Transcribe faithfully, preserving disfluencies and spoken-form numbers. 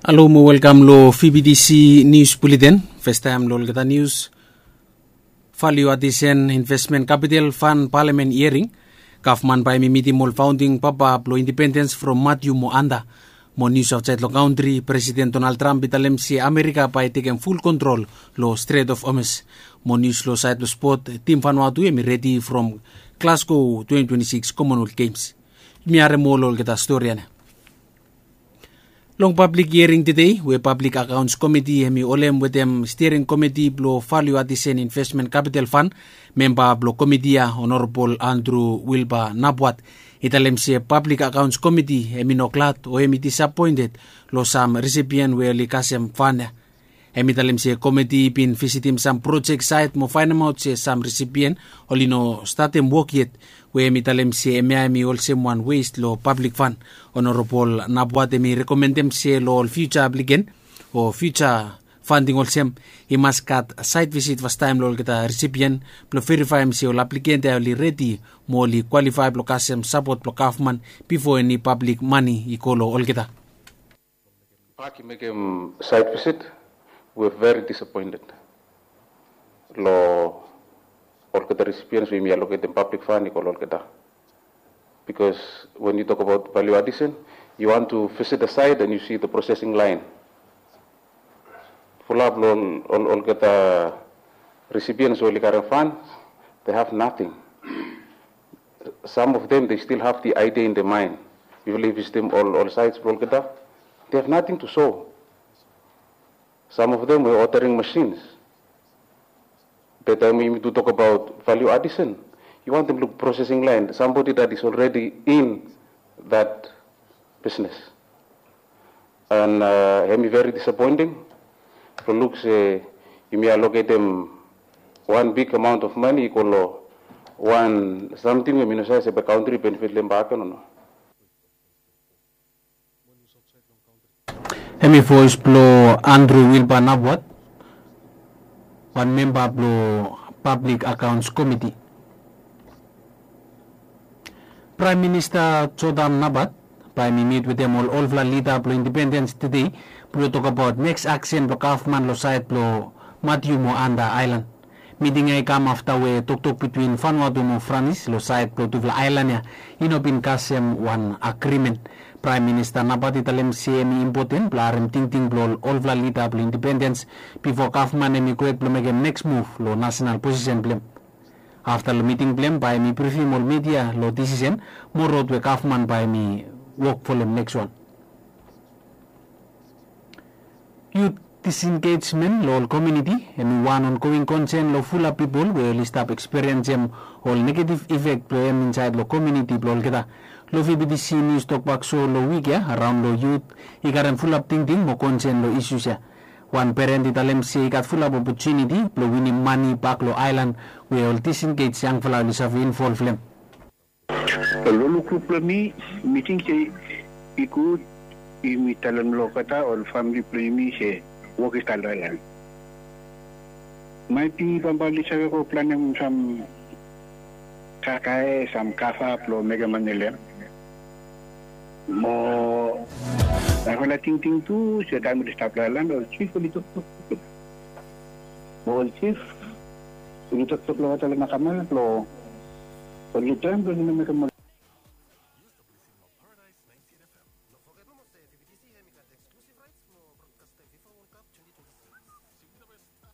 Halo mo welkam lo V B T C Nius Buleten. Festaem lo olgeta nius. Value Addition Investment Capital Fund Parliament Hearing. Gavman bae mi mitim ol faonding papa blo independens from Matiu mo Anda. Mo nius aotsaed lo kantri, Presiden Donald Trump i talem se Amerika bae tekem ful kontrol lo Strait of Hormuz. Mo nius lo saed lo spot, tim Vanuatu hemi redi from Glasgow twenty twenty-six Commonwealth Games. Yumi harem ol olgeta stori ya nao. Long pablik hiering tede we Pablik Akaons Komiti hemi holem wetem Stiering Komiti blo Value Addition Investment Capital Fund, memba blo komiti ya Honorabol Andrew Wilbur Nabwat i talem se Pablik Akaons Komiti hemi no glad o hemi disapoented lo sam risipien we oli kasem fan ya. Hemi talem se komiti i bin visitim sam projek saet mo faenemaot se sam risipien oli no statem wok yet, we hemi talem se hemia hemi olsem wan west lo pablik fan. Honorabol Nabwat hemi rekomendem se lo ol fiuja apliken o fiuja fanding olsem, i mas gat saet visit fastaem lo olgeta risipien blo verifaem se ol apliken ya oli redi mo oli kwalifae blo kasem sapot blo gavman bifo eni pablik mane i go lo olgeta. Pak i mekem saet visit, we very disapoented lo olgeta risipiens we yumi aloketem pablik fan i go lo olgeta. Because when you talk about value addition, you want to visit the site and you see the processing line. Fulap lo ol olgeta risipiens we oli karem fan, they have nothing. Some of them, they still have the idea in their mind. Yufala i visitim ol ol sites blo olgeta, they have nothing to show. Some of them were ordering machines. That time we need to talk about value addition. You want them to look processing line, somebody that is already in that business. And uh, hemi very disappointing. Blo luk se yumi aloketem wan big amount of money i go lo wan samting we mi no save se bae kantri i benefit lo hem bakegen o no. Hemi voes blo Andrew Wilbur Nabwat, wan memba blo Pablik Akaons Komiti. Praem Minista Jordan Nabwat bae hemi mit wetem ol olfala lida blo independens tede blo tokbaot neks aksen blo gavman lo saed blo Matiu mo Anda aelan. Miting ya i kam afta we toktok bitwin Vanuatu mo Franis lo saed blo tufala aelan ya i no bin kasem wan agrimen. Praem Minista Nabwat i talem se hemi impoten blo harem tingting blo ol olfala lida blo independens bifo gavman hemi gohed blo mekem neks muv lo nasenal posisen blo hem. Afta lo miting blo hem bae hemi brifim ol midia lo disisen mo rod we gavman bae hemi wok folem neks wan. Yut disengejmen lo ol komuniti hemi wan ongoing konsen lo fulap pipol we oli stap ekspiriensem ol negetiv ifek blo hem insaed lo komuniti blo olgeta. Lo V B T C Nius Tokbak So lo wik ya, araon lo yut i karem fulap tingting mo konsen lo isus ya. Wan peren i talem se i gat fulap opotuniti blo winim mane bak lo aelan we ol disengej yangfala oli save involv lo hem. Lo lukluk blo mi, mi ting se i gud yumi talem lo olgeta ol famili blo yumi se wok i stap lo aelan. Maet bi bambae oli save go planem sam kakae, sam kava blo mekem mane lo hem. Mo narafala tingting tu se taem oli stap lo aelan, ol jif oli toktok. Mo ol jif oli toktok lo olgeta lo mahakama blo oli traem blo oli no mekem